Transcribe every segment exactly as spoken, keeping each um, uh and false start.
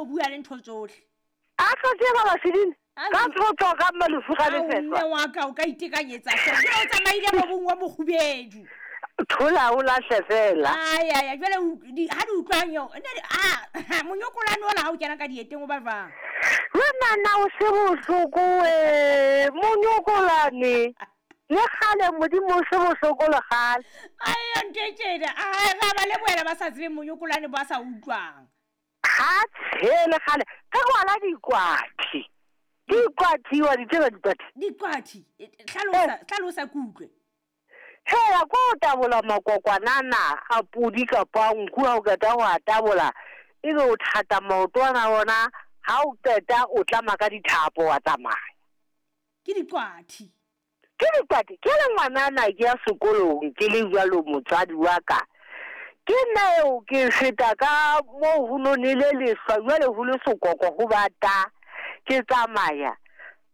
mobu ya le ntho tsohle. A tlo tseba Vaseline. Ka tlo ka malefu ga lefefa. Mme wa ka o ka itekanyetsa hle. Jwale o tsamaile mobung wa mokgubedu. Thola o lahle fela. Ai ai jwale ha di utlwang yo. Ah monyokolane ola ha o kena ka dieteng o ba jwang? Wena na o se bohloko we monyokolane. Le kgale modimo o se bohloko le kgale. Ai ntetjena ai ga ba le boela ba sa tsebe monyokolane ba sa utlwang. Ha tshele kgale ka kwala dikwathi. Dikwathi wa di tseba dikwathi. Dikwathi hlalosa hlalosa kutlwe. Hela ko tabola makokwanana a pudi kapa nku ha o qeta ho a tabola ebe o thata maotwana ona ha o qeta o tlama ka dithapo wa tsamaya. Ke dikwathi. Ke dikwathi ke le ngwanana ke ya sekolong ke le jwalo motswadi wa ka. Ke nna eo ke feta ka mo ho nonile lehlwa jwale ho le sokoko ho bata ke tsamaya.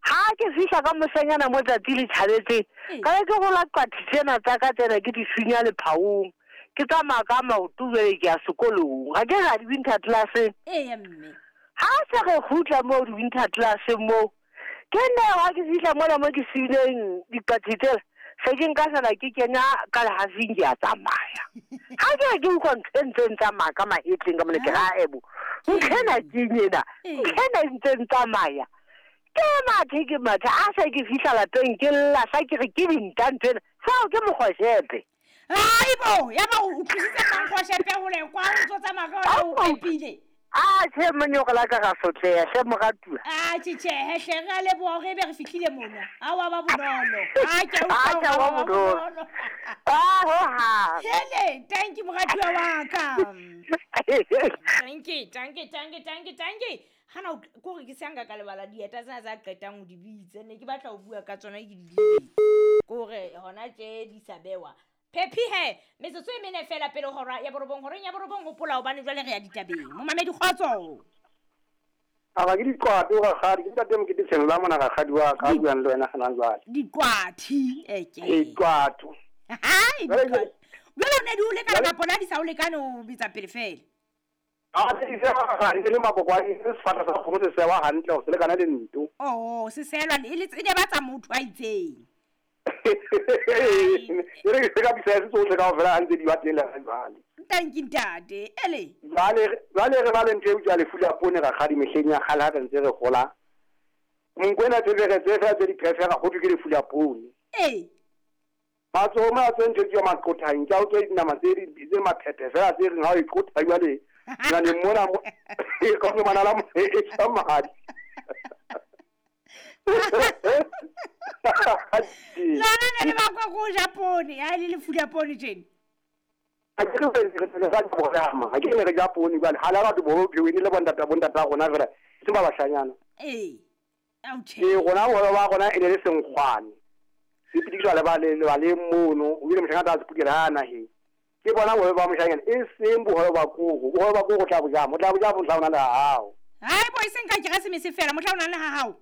Ha ke fihla ka moshanyana mo tsatsi le tjhabetse ka re ke gola qwathi tsena tsa ka tsena ke di sunya lephaong ke tsamaya ka maoto jwale ke ya sekolong ga ke ga di winter class. Ee mme ha se re kgutla mo di winter class mo ke nna ha ke fihla mola mo ke siileng diqwathi tsela se ke nka sala ke kena ka lehafing ke a tsamaya. Ha ke ke utlwa ntho e ntseng tsamaya ka mahetleng ka mole ke ra ebo ntho ena ke ena ntho ena e ntseng tsamaya. Ke mathe ke mathe a se ke fihla lapeng ke lla sa ke re ke dinta ntho ena seo ke mokgoshepe. Aibo ya ba o tlositse mokgoshepe hole kwa o ntso tsamaya ka o pepile. A tjhe monyokola ka ga sotleha hle moratuwa. A tjhe tjhe hle re a leboha hore ebe re fihlile mona. A wa ba bonolo. A ke a utlwa wa bonolo. A ho ha. Hele thank you moratuwa wa ka. Thank you thank you thank you thank you thank you. Hana ko re ke se ka lebala dieta tsena tsa qetang ho di bitse ne ke batla ho bua ka tsona ke di lebetse. Ko re hona tje di sa bewa. Phephi he metsotso e mene fela pele hora ya borobong horeng ya borobong hopola hobane jwale re ya ditabeng. Momamedi kgotso. A ba ke diqwathi ga kgadi ke ntate mokete tshelo mona ga kgadi wa ka buang le wena gana jwale. Diqwathi eke. Diqwatho. Hai diqwathi. Jwale o ne di o lekana ka pona di sa o lekane o bitsa pele fela. A se se ga ga le makokwane se sefata sa kgomo se sewa hantle ho se lekana le nto. Oh se selwa e le ne ba tsa motho a itseng. E re ke ka bisa se tsohle kaofela ha ntse di ba teng le jwale. Thank you ntate. Ele. Jwale jwale re ba le ntho e bitswa lefu la poone ra kgadi mehleng ya kgale ha re ntse re gola. Monkwena tse re tse fela tse di prefera go ke lefu la poone. Ee. Matsoho ma tse ntho tse maqothang ke a utlwa dinama tse di tse maphephe fela tse reng ha o iqotha jwale na ne mona e ka mo manala e tswa madi. Lona ne le bakwa ko ja poone ha le lefu la poone tjena. A ke re re re sa borama ha ke ne re ja poone jwale ha la batho bo pheweni le bontata bontata rona fela se ba bashanyana. Ee. Au tjhe. Ee rona hore ba rona e ne le senkgwane. Se pitikiswa le ba le ba le mono o ile moshanyana a se putela ha naheng. Ke bona hore ba moshanyana e seng bohole ba koko bohole ba koko tla boja mo tla boja mohla ona le ha hao. Hai bo e seng ka keresemese fela mohla ona le ha hao.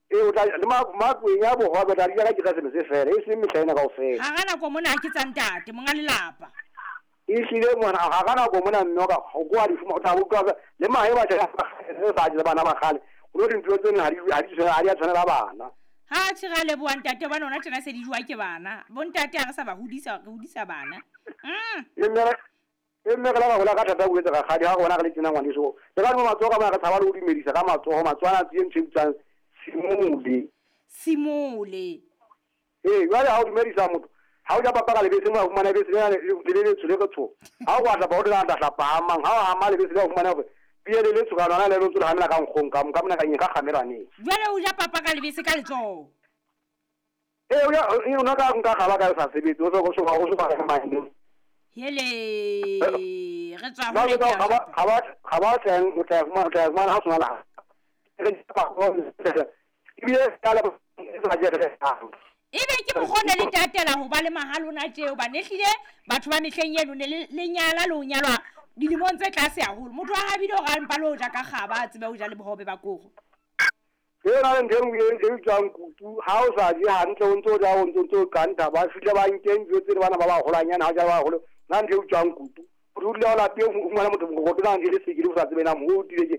E o tla le ma makweng ya bohwa ba tla di ka keresemese fela e seng mehla ena kaofela. Ha ga nako mona ke tsa ntate monga lelapa. E hlile mona ha ga nako mona mme ka go kwa di fuma o tla utlwa le mahe ba tla re sa je bana ba kgale o no dintho tsena ha di ha di ha di a tshwanela bana. Ha tjhe ra leboha ntate bana ona tjena se di jwa ke bana. Bo ntate ha re sa ba hodisa re hodisa bana. Mm. E mme e mme re la gola ka thata bo etsa ga kgadi ha rona re le tsena ngwaneso. Le ka mo matsoho ka bona re tshaba le ho dumedisa ka matsoho matswana tse ntho e bitswang simole. Simole. Ee jwale ha o dumedisa motho ha o ja papa ka lebese mo fumana lebese le le le tsho le re tsho. Ha o batla ba o tla tla pahama ha o hama lebese le o fumana hore pie le le tsho ka lona le le tsho hamela ka nkgong ka ka mona ka eng ka kgamelaneng. Jwale o ja papa ka lebese ka letsoho. Ee o ya o na ka nka gaba ka sa sebetse o so go so go so ba mane. Hele re tswa ho le ga ba ga ba ga ba teng o tla fumana o tla fumana ha sona la. Re ba go ebile ka la sa je re ha. Ebe ke mokgone le tatela ho ba le mahalona tjeo ba nehlile batho ba mehleng eno ne le nyala le ho nyalwa dilemong tse tlase haholo. Motho wa habile hore a mpa le ho ja ka kgaba a tsebe ho ja le bohobe ba koro. Ke yona le ntho e nngwe e bitswang kutu ha o sa je hantle o ntso o ja o ntso ntso kanta ba fihle ba nkeng dijo tse le bana ba baholwanyana ha o ja ba baholo na ntho e bitswang kutu. O dula o lapeng o fumana motho mokokotlo na ntho e le sekele o sa tsebe na mo o tile ke